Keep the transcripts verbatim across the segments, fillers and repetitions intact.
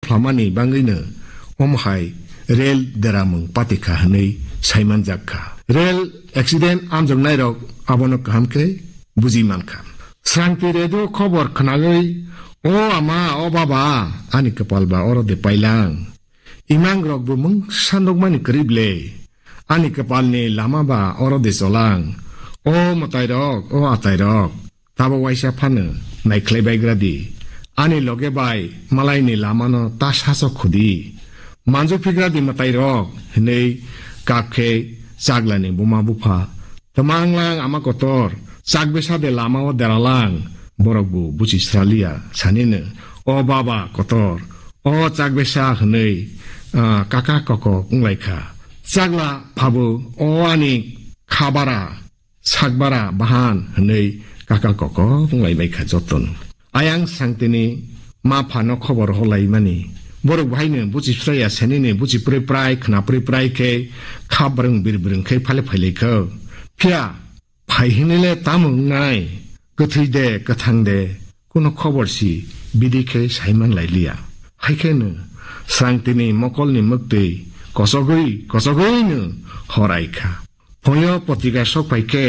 phamani bangwino omo hai rel deramung patikha hwnwi saimanjak kha. Rel accident amjoknairok abono kaham khe buji mankha. Srangti radio khobor khwnagwi, "O ama, o baba, ani kwpal ba oro de pailang. Imangrok bo mungsa nukmani kwrwi ble. Ani kwpalni lama ba oro de cholang. O mwtairok, o atairok, tabo waisa phano naikhlai baigra di. Ani loge bai malaini lamano ta saso khudi. Manjuphigra di mwtairok," hwnwi kap khe Chaglani buma bupha Twmanglang ama kotor, chakbesa de lama o deralang, borok bo buchi sraliya, sanino, "O baba kotor, o chakbesa," hwnwi, ah, kaka koko wnglaikha. Chagla phabo, "O ani khabara, sakbara, bahan," hwnwi kaka koko wnglaimai kha jotono. Ayang sangtini ma phano khobor holaimani. Borok bahaino buchi phraya senini buchi prai prai khna prai prai khe kha brwng bir brwng khe phale phailai kho. Phiya phai hinile tamo wngnai? Kwthwi de kwthang de kuno khobor si bidi khe saiman lai liya. Hai khe no srangtini mokolni mwktwi kochogwi kochogwi no horai kha. Phoyo potrika sok phai khe,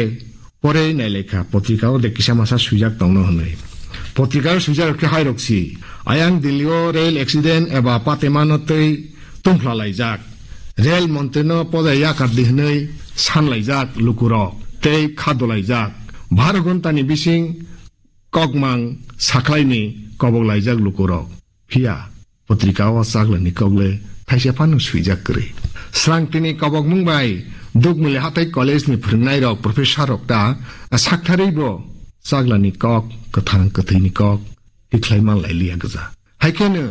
porei nailai kha, potrika o de kisa masa swijak tongno hwnwi. Potrika o swijak khe hairok si, "Ayang Delhi o rail accident eba patemano tei tungphla laijak. Rail montri no poja yakar di hwnwi san laijak lukurok tei kha dolaijak. Baro ghonta ni bising kokmang sakhlai ni kobok laijak lukurok." Phiya, potrika o Chaglani kok le thaisa phano swijak kwrwi. Srangtini kobokmung bai Dukmuli Hathai College ni phwrwngnairok, professor rok ta saktharwi bo Chaglani kok, kwthang kwthwini kok tikhlai man lai liya gwja. Hai kheno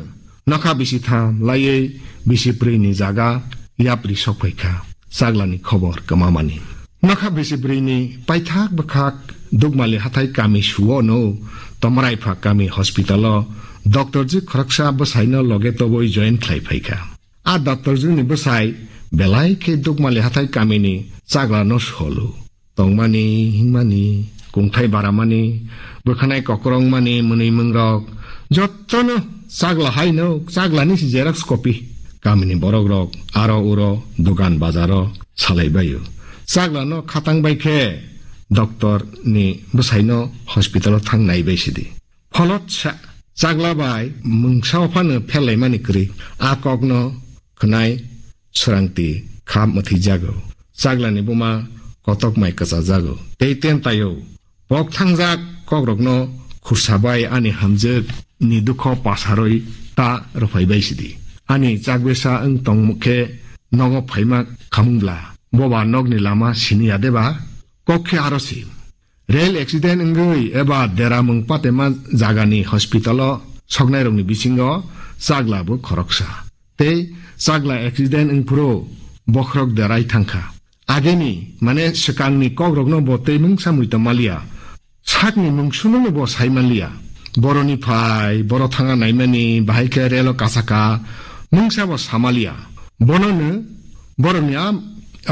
nokha bisi tham laiwi bisi pwrwini jaga yapri sok phai kha. Chaglani khobor kwmamani. Nokha bisi bwrwini paithak bwkhak Dukmali Hathai kami suo no Tomraipha kami hospital o doctor ji khoroksa bwsaino loge tobwi join khlai phaikha. A doctor ji ni bwsai belai khe Dukmali Hathai kamini Chagla no solo. Tongmani, himani, kungthai baramani, bwkhanai kokrongmani mwnwi mwngrok, jottono Chagla haino, Chaglani si xerox copy. Kamini borokrok aro uro dogan bazaro salai baio. Chaglano khatang bai khe doctor ni bwsaino hospital o thang nai bai sidi. Pholot sa Chagla bai mungsa phano phelaimani kwrwi. A kokno khwnai Srangti kha mwthwi jago. Chaglani buma kotok mai kwcha jago. Tei ten taio. Pok thangjak kokrokno khursa bai ani hamjwk ni dukho pasarwi ta rwphai bai sidi. Ani chagbesa wng tongmukhe nogo phaima khamung bla. Boba nokni lama sini ya deba? Kok khe aro si. Rail accident wngwi eba deramung patema jagani hospital o soknairokni bisingo Chagla bo khoroksa. Tei Chagla accident wngphuru bokhorok derai thangkha. Ageni, mane swkangni kokrokno bo tei mungsa mui tongmaliya. Sakni mung sunono bo saimanliya. Boroni phai, boro thanga naimani, bahai khe relo kasaka, mungsa bo samaliya. Bonono borokni a,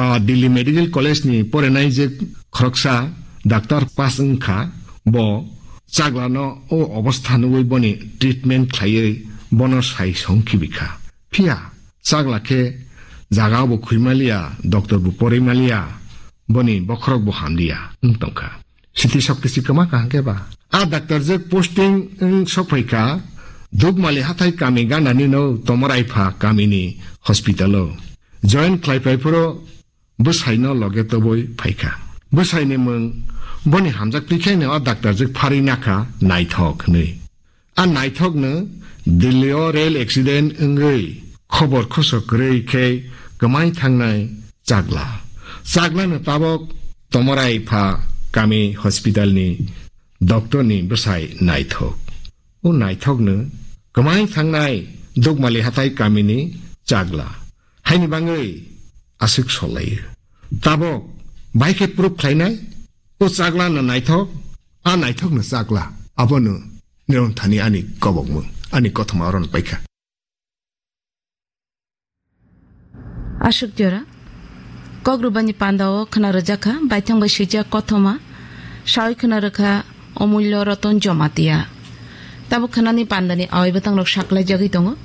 a, Delhi Medical College ni porenai je khoroksa doctor pass wngkha, bo Chaglano o obostha nugwi boni treatment khlaiwi bono sai song khibikha. Phiya Chagla khe jaga bo khuimaliya, doctor bo porimaliya, boni bokhorok bo hamliya wng tongkha. Siti sob kisi kwma kaham khe ba? A doctor je posting wng sokphaikha, Dukmali Hathai kami ganani no Tomaraipha kamini hospital o. Join khlaiphai phuru bwsaino loge tobwi phaikha. Bwsaini mung boni hamjak twi khaino a doctor je pharwi nakha Naithok hwnwi. A Naithokno Delhi o rail accident wngwi khobor khosok kwrwi khe kwmai thangnai Chagla. Chaglano tabok Tomorai pha kami hospital ni doctor ni bwsai Naithok. O Naithokno kwmai thangnai Dukmali Hathai kamini Chagla. Haini bangwi aswk solaio. Tabok bai khe proof khlainai, o Chaglano Naithok, a Naithokno Chagla. Abono Niron thani ani kobokmung, ani kothoma oron paikha. Ashuk jora. Kok rwbani panda o khwna rwjakha, baithang bai swijak kothoma, sawi khwna rwkha Omulyo Roton Jomatia. Tabuk khwnani pandani awai bwtang rok saklai jagwi tongo.